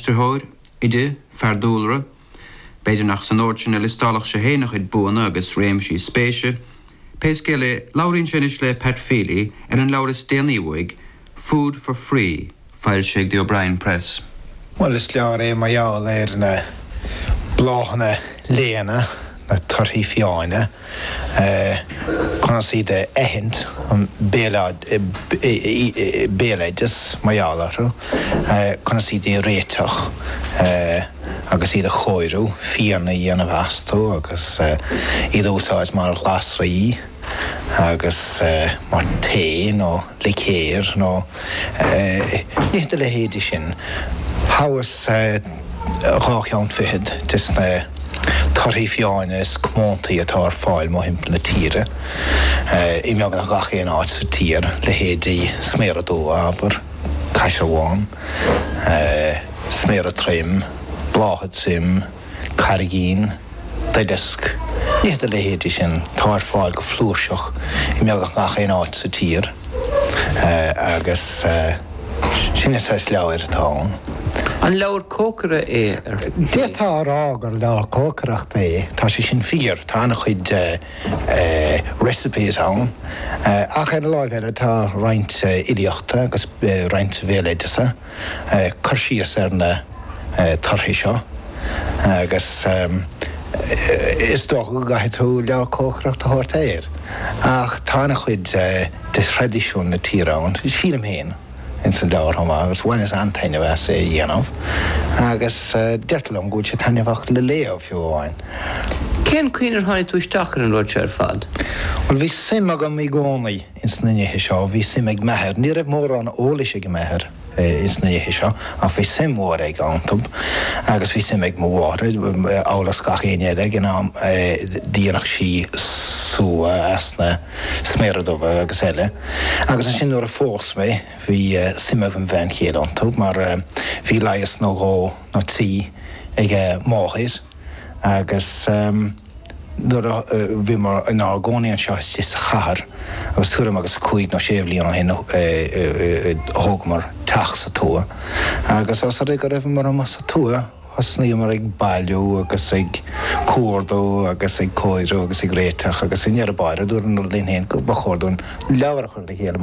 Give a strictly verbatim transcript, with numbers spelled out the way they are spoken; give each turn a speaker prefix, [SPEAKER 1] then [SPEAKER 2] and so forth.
[SPEAKER 1] Aistritheoir, oide, fear dúlra, B'fhéidir nach san ord sin a liostálfadh sé féin a chuid buanna agus réimsí spéise, Pé scéal é, labhraíonn sé anois le Pat Feely ar an leabhar is déanaí uaidh, Food for Free, foilsithe ag The O'Brien Press.
[SPEAKER 2] Well is leabhar é mar gheall ar na bláthanna léana na torthaí fiáine conas iad a aithint an béaloideas mar gheall orthu, conas iad a réiteach agus iad a chóiriú, fíon a dhéanamh astu agus iad a úsáid mar ghlasraí agus mar tae nó licéir nó nithe dá leithéidí sin. Thomhas dhá cheann fichead des na torthaí fiáine is comóntaí atá ar fáil mórthimpeall na tíre, i mbeagnach gach aon áit sa tír, leithéidí sméara dubha, abair, caisearbhán, sméara troim, blátha troim, carraigín, duileasc, nithe dá leithéidí sin atá ar fáil go flúirseach i mbeagnach gach aon áit sa tír agus sin an saghas leabhair atá ann.
[SPEAKER 3] An leabhar cócaire é ar
[SPEAKER 2] D'fhéadfá a rá gur leabhar cócaireachta é, tá sé sin fíor, tá an-chuid recipes ann, ach ar an láimh eile tá roinnt fhilíochta agus roinnt bhéaloideasa, cur síos ar na torthaí seo agus is dócha go gcaithfidh tú leabhar cócaireachta a thabhairt air. Ach tá an-chuid de thraidisiún na tíre ann, sílim féin. ins an leabhar chomh maith agus bhaineas an-taitneamh as é a dhéanamh agus deirtear liom go bhfuil sé taitneamhach le léamh fiú amháin.
[SPEAKER 3] Cén chaoi ar tháinig tú isteach ar an rud seo ar fad?
[SPEAKER 2] Bhuel bhí suim agam i gcónaí ins na nithe seo, bhí suim ag m'athair, ní raibh mórán eolais ag m'athair ins na nithe seo ach bhí suim mhór aige iontu agus bhí suim ag mo mháthair, amhail is gach éinne eile ag an am, dhéanadh sí sugha as na sméara dubha agus eile agus ansin nuair a phós mé, Bhí suim ag mo bhean chéile iontu mar bhí leigheas nó dhó nó trí ag a máthair agus nuair a bhíomar inár gcónaí anseo istigh sa chathair agus tuairim agus cúig nó sé bhliain ó shin thógamar teach sa tuath agus os rud é go raibheamar amuigh sa tuath thosnaíomar ag bailiú agus ag cuardú agus ag cóiriú agus ag réiteach agus i ndeireadh báire dúramar linn féin go ba chóir dúinn leabhar a chur le chéile.